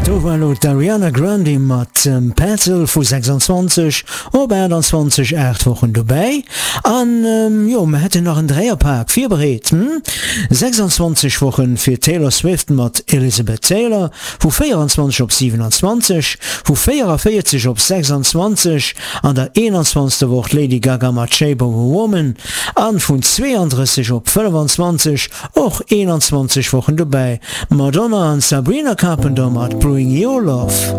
Do war elo d'Ariana Grande mat Petal vu 26 op 28, 8 Wochen dobäi. An jo, mer hätten nach en Dräierpak virbereet, hm? 26 Wochen fir d'Taylor Swift mat Elizabeth Taylor, vu 24 op 27, vu 44 op 26 an der 21. Woch d'Lady Gaga mat Shape of a Woman an vun 32 op 25, och 21 Wochen dobäi, Madonna an Sabrina Carpenter mat Bring Your Love.